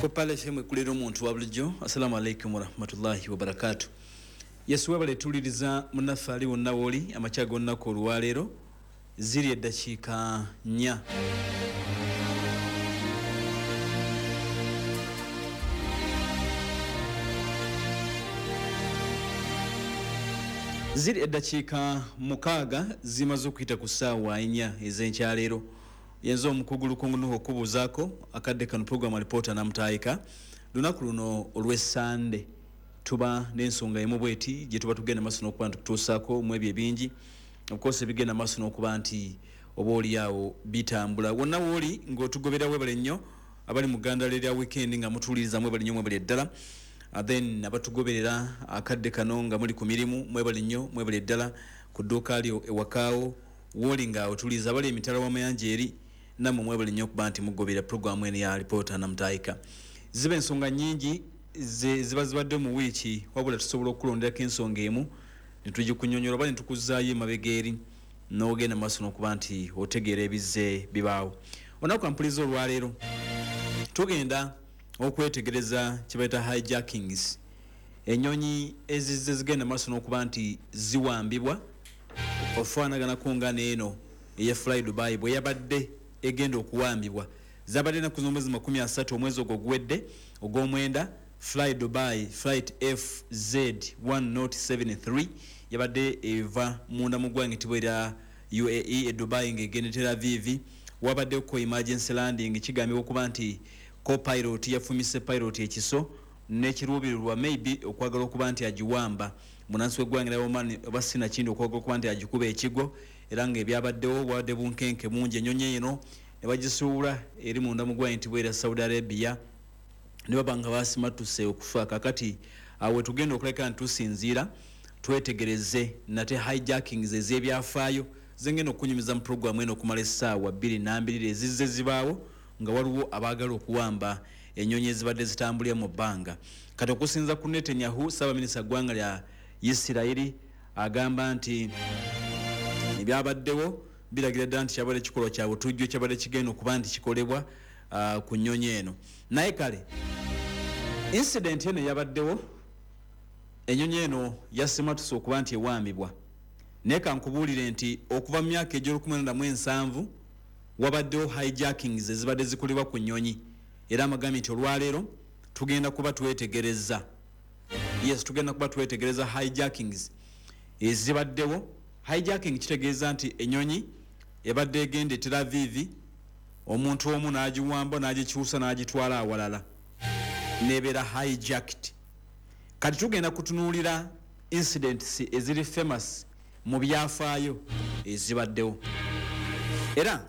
Ku Pale FM ekulira omuntu wa bulijjo. Assalamu alaikum warahmatullahi wabarakatu. Yesu webale tuwuliriza munnaffe ali wonna wooli amakya g'olunaku olwaleero. Ziri eddakiika 4. Ziri eddakiika 6 zimaze okuyita ku ssaawa 4 ez'enkyaleero. Yenze omukugu Lukungu Nuhu okubuuzaako akadde kano program alipoota namutaayika. Lunaku luno olw'Essande tuba n'ensonga emu bweti gye tuba tugenda maaso n'okuba nti tutuusaako mu ebyo ebingi. Of course ebigenda maaso n'okuba nti oba oli awo bitambula. Wonna wooli ng'otugobera webale nnyo, abali mu ggandala erya weekend nga mutuwuliriza mwebale nnyo, mwebale ddala. Then abatugoberera akadde kano nga muli ku mirimu mwebale nnyo, mwebale ddala. Ku dduuka lyo ewakaawo wooli nga otuwuliriza, abali emitala w'amayanja eri nammwe mwebale nnyo okuba nti mugobera pulogulaamu eno ya alipoota namutaayika. Ziba ensonga nnyingi ziba zibadde mu wiiki, wabula tusobola okukulonderako ensonga emu ne tugikunyonnyola oba ne tukuzzaayo emabega eri n'ogenda maaso n'okuba nti otegeera ebizze bibaawo. Olunaku ampuliza olwaleero tugenda okwetegereza kye bayita hijackings, ennyonyi ezizze zigenda maaso n'okuba nti ziwambibwa ofaanaganako nga n'eno eya Fly Dubai bwe yabadde egenda okuwambibwa. Zabadde ennaku z'omwezi 30 omwezi ogwo oguwedde ogw'omwenda. Fly Dubai flight FZ 1073 yabadde eva munda mu ggwanga ettibwa erya UAE e Dubai ng'egenda e Tel Aviv. Wabaddeko emergency landing, kigambibwa okuba nti co-pilot yafumise pilot ekiso n'ekiruubirirwa maybe okwagala okuba nti agiwamba munnansi w'eggwanga erya Oman oba sinakindi okwagala okuba nti agikuba ekigwo, era ng'ebyabaddewo bwabadde bunkenke bungi. Ennyonyi eno ne bagisuula eri munda mu ggwanga ettibwa erya Saudi Arabia ne baba nga basimattuse okufa. Kakati awo we tugenda okuleka nti tusinziira twetegereze nate hijackings ez'ebyafaayo zengenda okunyumiza mu pulogulaamu eno okumala essaawa 2 ezizze zibaawo nga waliwo abaagala okuwamba ennyonyi ezibadde zitambulira mu bbanga. Kati okusinza ku Netanyahu, ssaabaminisita ggwanga lya Isirayiri, agamba nti ebyabaddewo biragira ddala nti kyabadde kikolwa kya butujju ekyabadde kigenda okuba nti kikolebwa ku nnyonyi eno. Naye kale incident eno eyabaddewo, ennyonyi eno yasimatuse okuba nti ewambibwa. Naye kankubuulire nti okuva mu myaka egy'olukumi wabaddewo hijackings ezibadde zikolebwa ku nnyonyi, era amagambye nti olwaleero tugenda kuba twetegereza. Yes, tugenda kuba twetegereza hijackings ezibaddewo. Hijacking kitegeeza nti ennyonyi ebadde egenda e Tel Aviv, omuntu omu n'agiwamba n'agikyusa n'agitwala awalala nebeera hijacked. Kati tugenda kutunuulira incidents eziri famous mu byafaayo ezibaddewo. Era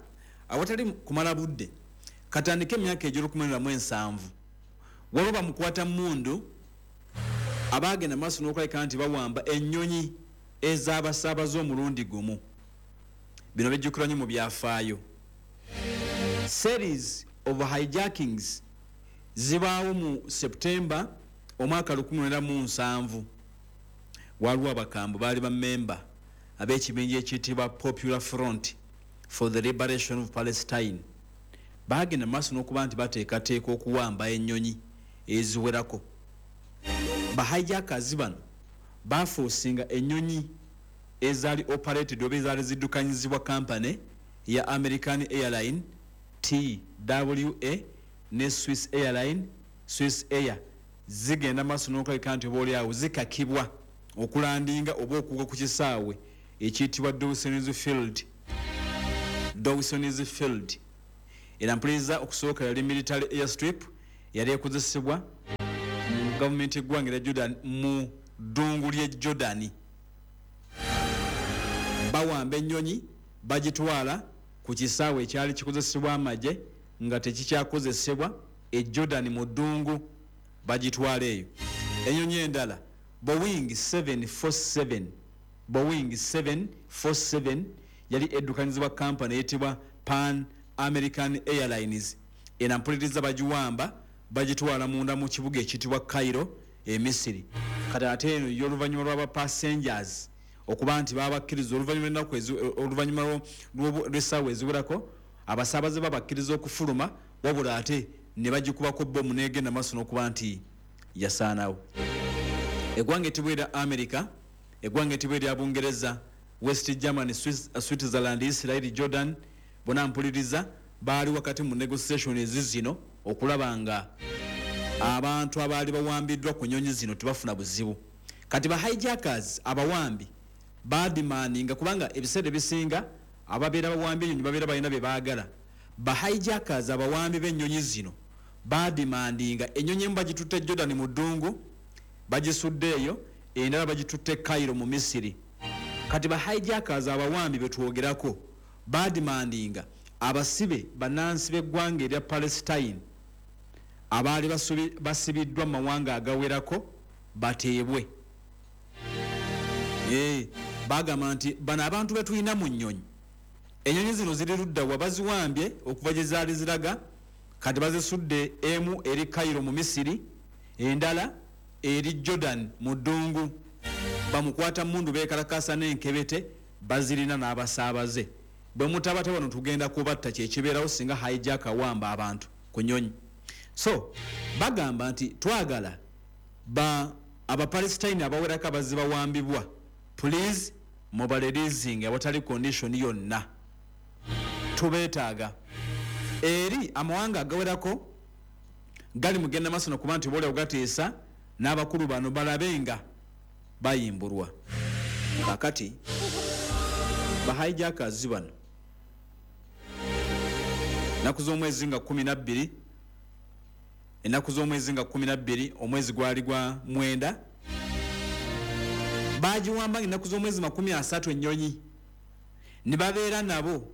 awatali kumala budde, katandike emyaka egy'olukumi waliwo bamukwata mundu abaagenda maaso n'okulabika nti bawamba ennyonyi ez'abasaabaze omulundi gumu. Bino bijjukirwa nnyo mu byafaayo. Series of hijackings zibaawo mu September omwaka 1970. Waliwo abakambwe baali bammemba ab'ekibinja ekiyitibwa Popular Front for the Liberation of Palestine, baagenda maaso n'okuba nti bateekateeka okuwamba ennyonyi eziwerako. Ba hijackers bano baforcinga ennyonyi ezaali operated oba ezaali ziddukanyizibwa company ya American Airline TWA ne Swiss Airline Swiss Air, zigenda maaso n'okulabika nti oba oliawo zikakibwa okulandinga oba okugwa ku kisaawe ekiyitibwa Dawson's Field. Dawson's Field era mpuliriza okusooka yali military airstrip, yali ekozesebwa mu gavumenti eggwanga erya Jordan mu ddungu ly'e Jordan. Bawamba ennyonyi bagitwala ku kisaawe ekyali kikozesebwa amagye nga tekikyakozesebwa e Jordan mu ddungu, bagitwala eyo. Ennyonyi endala Boeing 747, Boeing 747 yali eddukanyizibwa kampani eyitibwa Pan American Airlines. Eno mpuliriza bagiwamba bagitwala munda mu kibuga ekiyitibwa Cairo e Misiri. Kati ate eno yo oluvannyuma lw'aba passengers okuba nti babakkiriza oluvannyuma lw'ennaku, oluvannyuma lw'essaawa eziwerako, abasaabaze babakkiriza okufuluma, wabula ate Ne bagikubako bomu negenda maaso n'okuba nti yasaanawo. Eggwanga etibwa erya America, eggwanga etibwa erya Bungereza, West Germany, Switzerland, Israel, Jordan, bona mpuliriza, baali wakati mu negotiation ezi zino okulaba nga abantu abaali bawambiddwa ku nyonyi zino tebafuna buzibu. Kati ba hijackers, abawambi, bademandinga, kubanga ebiseera ebisinga ababeera bawambi enyonyi babeera balina bye baagala. Ba hijackers, abawambi b'ennyonyi zino, bademandinga ennyonyi emu bagitutte Jordan mu ddungu, bagisudde eyo, endala bagitutte Cairo mu Misiri. Kati ba hijackers, abawambi betwogerako, bademandinga abasibe bannansi b'eggwanga erya Palestine abaali basibiddwa mu mawanga agawerako bateebwe. Bagamba nti bano abantu betulina mu nnyonyi, ennyonyi zino ziri ludda wa, baziwambye okuva gye zaali ziraga, kati bazisudde, emu eri Cairo mu Misiri, endala eri Jordan mu ddungu. Bamukwata mundu bekalakasa n'enkebete bazirina n'abasaabaze. Bwe mutabata bano tugenda kubatta. Kyekibeerawo singa hijack awamba abantu ku nyonyi. So bagamba nti twagala ba Abapalestine abawerako abazze bawambibwa, please mubareleasing awatali condition yonna, tubeetaaga. Eri amawanga agawerako gali mugenda maaso nokuba nti boolyawo gateesa n'abakulu bano balabe nga bayimbulwa. Kakati ba hijackers bano, ennaku z'omwezi nga 12, ennaku z'omwezi nga 12, omwezi gwali gwa 9, bagiwamba nga ennaku z'omwezi 30 ennyonyi ne babeera nabo.